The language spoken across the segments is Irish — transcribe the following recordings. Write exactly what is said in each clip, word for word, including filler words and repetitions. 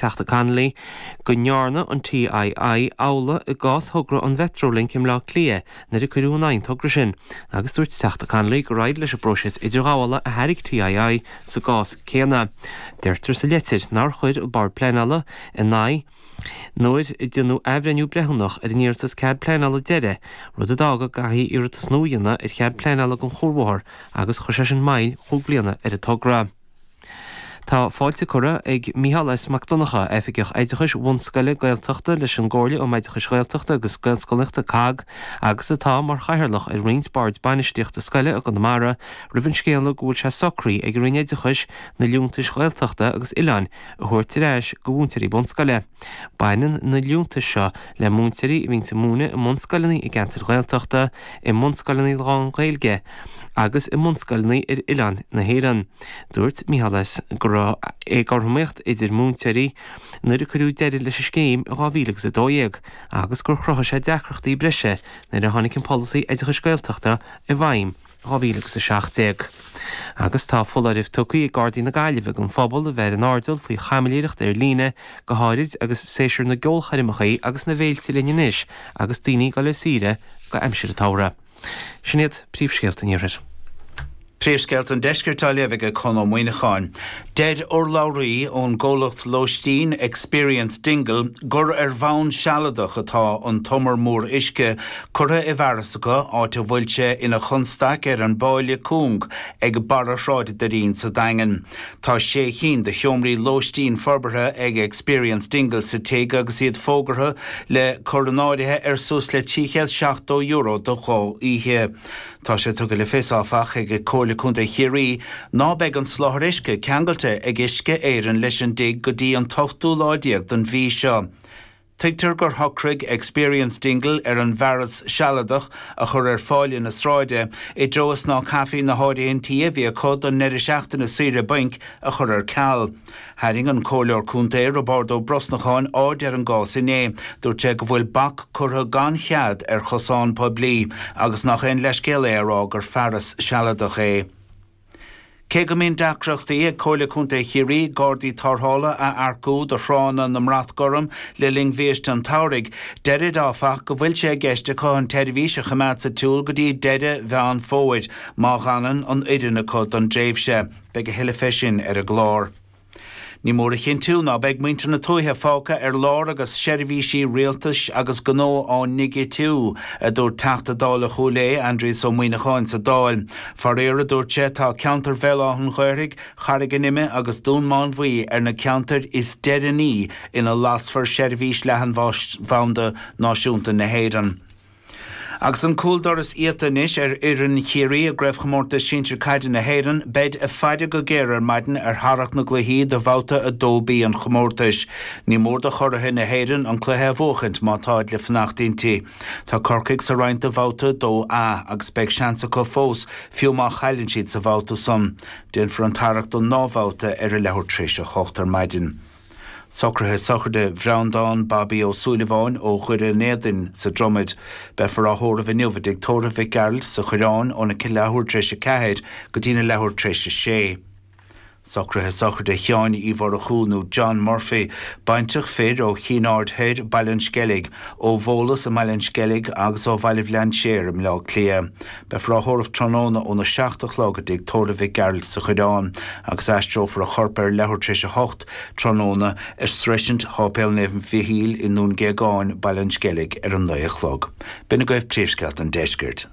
Teachta Connolly go ndearna an TII amhlaidh i gcás thogra an Mhetrolink i mBleá Cliath nuair a cuireadh in aghaidh an togra sin, agus dúirt Teachta Connolly gur éirigh leis an bpróiseas idirghabhála a thairg TII sa gcás céanna. Deirtear sa litir nár chuir an Bord Pleanála in aghaidh nuair a déanadh athbhreithniú breithiúnach ar an iarratas cead pleanála deiridh, rud a d'fhág go gcaithfí iarratas nua a dhéanamh ar chead pleanála don chuarbhóthar agus chuir sé sin moill chúig bliana ar an togra. Tá fáilte curtha ag Mícheál S. Mac Donncha, Oifigeach Oideachais Bhunscoile Gaeltachta leis an gComhairle um Oideachais Ghaeltachta agus Gaelscolaíochta, COGG, agus atá mar chathaoirleach ar roinnt boird bainistíochta scoile i gConamara, roimh an scéala go bhfuil sé socraithe ag an Roinn Oideachais na liúntais Ghaeltachta agus Oileáin a thabhairt ar ais do mhúinteoirí bunscoile. Baineann na liúntais seo le múinteoirí a bhíonns ag múineadh i mbunscoileanna i gceantair Ghaeltachta, i mbunscoileanna lán-Ghaeilge agus i mbunscoileanna ar oileáin na hÉireann. Dúirt Mícheál S. go raibh éagothromaíocht idir múinteoirí nuair a cuireadh deireadh leis an scéim i dhá mhíle agus a dó dhéag agus gur chruthaigh sé deacrachtaí breise nuair a tháinig an polasaí oideachais Gaeltachta i bhfeidhm i dhá mhíle agus a seacht déag. Agus tá foláireamh tugtha ag Gardaí na Gaillimhe don phobal a bheith ar an airdeall faoi chaimiléireacht ar líne, go háirid agus séasúr na gceolchoirmeacha agus na bhféilte linn anois agus daoine ag dul ar saoire go aimsir an tsamhraidh. Sin iad príomhscéalta an iarthair. Príomhscéalta an Deiscirt á léamh ag Conn Ó Muíneacháin. Deir urlabhraí ón gcomhlacht lóistín Experience Dingle gur ar bhonn sealadach atá an t-umar mór uisce curtha i bhfearas acu, áit a bhfuil sé ina chonstaic ar an bpáile cúng ag barra Shráid Doirín sa Daingean. Tá sé chinn de sheomraí lóistín forbartha ag Experience Dingle sa tigh agus iad fógartha le cur in áirithe ar suas le trí chéad seachtó euro do dhá oíche. Tá sé tugtha le fios, áfach, ag Comhairle Contae Chiarraí ná beidh an soláthar uisce ceangailte ag Uisce Éireann leis an dtigh go dtí an t-ochtú lá déag den mhí seo. Tuigtear gur shocraigh Experience Dingle ar an bhfearas sealadach a chur ar pháile na sráide i dtreo is ná caithfí na háirithintí a bhí acu don ndeireadh seachtaine saoire bainc a chur ar ceal. Tharraing an Comhairleoir Contae Roibeárd Ó Brosnacháin aird ar an gcás inné. Dúirt sé go bhfuil bac curtha gan chead ar chosán poiblí agus nach aon leithscéal é a rá gur fearas sealadach é. Cé go mbíonn deacrachtaí ag Comhairle Contae Chiarraí gardaí tarrthála a earcú do thránna na mBrat Gorm le linn bhiaiste an tsamhraidh, deirid áfach go bhfuil sé i gceist acu an tseirbhís a choimeád sa tsiúl go dtí deireadh Mheán Fómhair má dh'fhanann an fhoireann acu don dtréimhse. Beidh a thuilleadh fé sin ar an gclár. Ní mór a chinntiú ná beidh muintir na tuaithe fágtha ar lár agus seirbhísí rialtais agus gnó á ndigitiú, a dúirt Teachta Dála Chúil Aodha, Aindrias Ó Muíneacháin sa Dáil. Faraor, a dúirt sé, tá ceantar Bhéal Átha an Ghaorthaidh, Charraig an Ime agus Dún Mánmhaí ar na ceantair is deireanaí ina lasfar seirbhís leathanbhanda náisiúnta na hÉireann. Agus an cúldoras iata anois ar fhoireann Chiarraí i gCraobhchomórtas Sinsir Caide na hÉireann, beid ag faire go géar ar maidin ar tharrac na gcluichí do Bhabhta a dó B an chomórtais. Ní mór do churaithe na hÉireann an cluiche a bhuachaint má táid le fanacht inti. Tá Corcaigh sa roinnt do Bhabhta a dó A agus beidh seans acu fós fiú má chailleann siad sa bhabhta san. Déanfar an tarrac don ndá bhabhta ar a leathuair tar éis a hocht ar maidin. Socruithe sochraide Bhreandán Bobby Ó Súilleabháin ó Dhoire an Éadain sa Dromaid. Beifear á thórramh inniu i dTigh Tórraimh Mhic Gearailt sa Choireán óna leathuair tar éis a ceathair go dtína leathuair tar éis a sé. Socruithe sochraide Sheáin Uí Mhurchú nó John Murphy, baintreach fir ó Chinn Aird Thoir, Baile an Sceilg, ó Bhólas i mBaile an Sceilg agus ó Bhaile Bhlainséir i mBleá Cliath. Beifear á thórramh tráthnóna óna seacht a chlog i dTigh Tórraimh Mhic Gearailt sa Choireán agus aistreofar a chorp ar leathuair tar éis a hocht tráthnóna ar sroisint Sháipéal Naomh Mhichíl i nDún Géagáin, Baile an Sceilg ar a naoi a chlog. B'in agaibh príomhscéalta an deiscirt.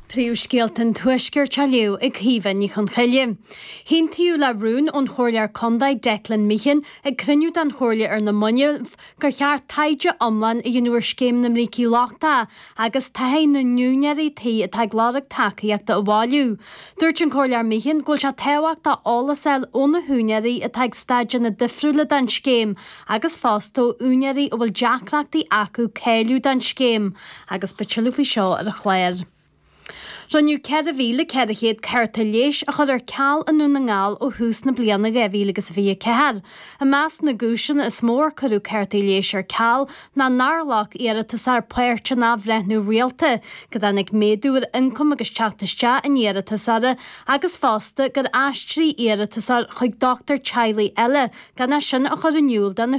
Príomhscéalta an Tuaiscirt á léamh ag Caoimhe Ní Chonchoille. Aontaíodh le rún ón Chomhairleoir Contae Declan Meehan ag cruinniú den Chomhairle ar na mallaibh gur cheart taighde iomlán a dhéanamh ar scéim na mbrící lochtacha agus taithí na n-úinéirí tí atá ag lorg tacaíochta a bhailiú. Dúirt an Comhairleoir Meehan go bhfuil sé tábhachtach eolas a fháil ó na húinéirí atá ag staideanna difriúla den scéim agus fosta ó úinéirí a bhfuil deacrachtaí acu cáiliú don scéim agus beidh tuilleadh faoi seo ar an chlár. Rinneadh ceithre mhíle ceithre chéad cárta leighis a chur ar ceal i nDún na nGall ó thús na bliana dhá mhíle agus a fiche a ceathair. I measc na gcúiseanna is mó ar cuireadh cártaí leighis ar ceal ná nár ghlac iarratasóir páirt in athbhreithniú rialta, go dtáinig méadú ar ioncam agus teacht isteach an iarratasóra agus fosta gur aistrigh iarratasóir chuig dochtúir teaghlaigh eile gan é sin a chur in iúl do na